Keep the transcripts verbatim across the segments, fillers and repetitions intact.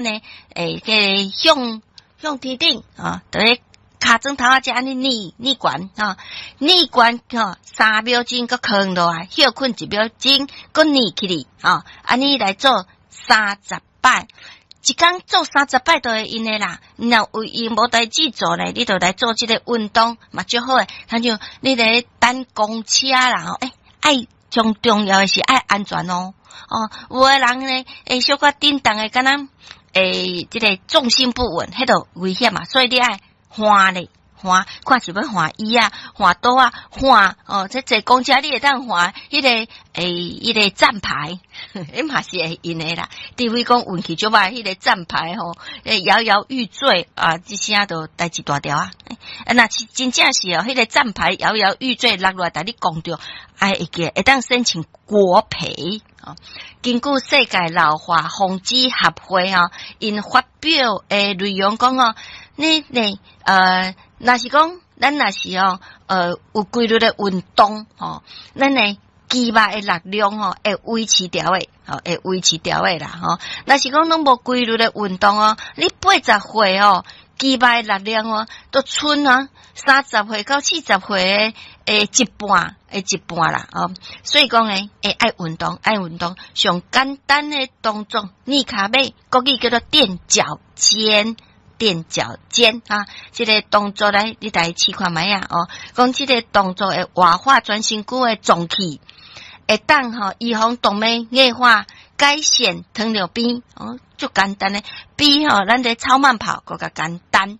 呢，會這向向天頂啊，佇咧跤踭頭仔遮按呢捏捏懸吼，捏懸吼三秒鐘，閣囥落來，歇睏一秒鐘，閣捏起來吼，按呢來做三十擺。一工做三十擺就會用的啦。若有閒無代誌做咧，你就來做這個運動嘛，足好的。親像你咧等公車啦，吼，欸，愛上重要的是愛安全哦。哦，有的人呢，會小可振動的，敢若會這個重心不穩，彼就危險嘛。所以你愛換咧，換看是欲換椅仔，換桌仔，換哦。這坐公車你會當換彼個欸，彼個站牌，彼嘛是會用的啦。除非講運氣足歹，彼個站牌吼，搖搖欲墜啊，這聲就代誌大條啊。啊，若是真正是哦，彼個站牌搖搖欲墜落落來，共你摃著，愛會記會當申請國賠。哦，根據世界老化防止協會吼，𪜶發表的內容講哦，你呢呃，若是講咱若是哦，呃，有規律的運動吼，咱的肌肉的力量吼會維持牢的，吼會維持牢的啦吼。若是講攏無規律的運動哦，你八十歲哦，肌肉的力量哦，都賰啊三十歲到四十歲的一半，的一半啦哦。所以講呢，會愛運動，愛運動，上簡單的動作，捏跤尾，國語叫做墊腳尖。墊腳尖啊，這個動作來，你來試看覓啊？哦，講這個動作會活化全身軀的臟器，會當吼預防動脈硬化，改善糖尿病哦，足簡單的，比吼咱佇超慢跑閣較簡單。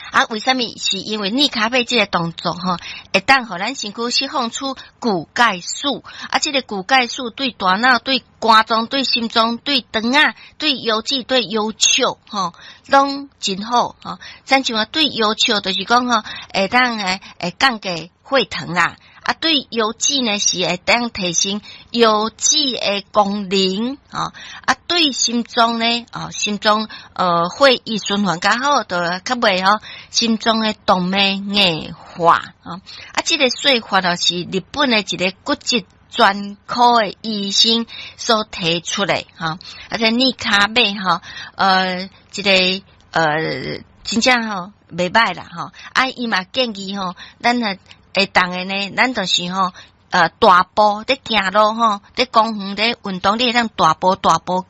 啊，為啥物？是因為捏跤尾這個動作吼，會當予咱身軀釋放出骨鈣素。啊，這個骨鈣素對大腦、對肝臟、對心臟、對腸仔、對腰子、對腰笑吼，攏真好吼。親像啊，對腰笑就是講吼，會當會會降低血糖啦。啊，對腰子呢是會當提升腰子的功能，吼。啊，對心臟呢，哦，心臟呃血液循環較好，就較袂吼心臟的動脈硬化，吼。啊，這個說法就是日本的一個骨折專科的醫生所提出的，吼。啊，這捏跤尾吼，呃，這個呃，真正吼袂䆀啦，吼。啊，伊嘛建議吼，咱若會當的呢，咱就是吼，呃，大步咧行路吼，佇公園咧運動，你會當大步大步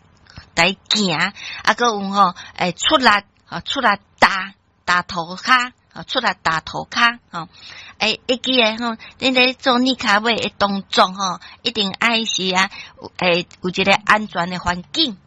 來行，啊，閣有吼，會出力，吼，出力踏踏塗跤，吼，出力踏塗跤，吼，會會記得吼，你咧做捏跤尾的動作吼，一定愛是啊，會有一個安全的環境。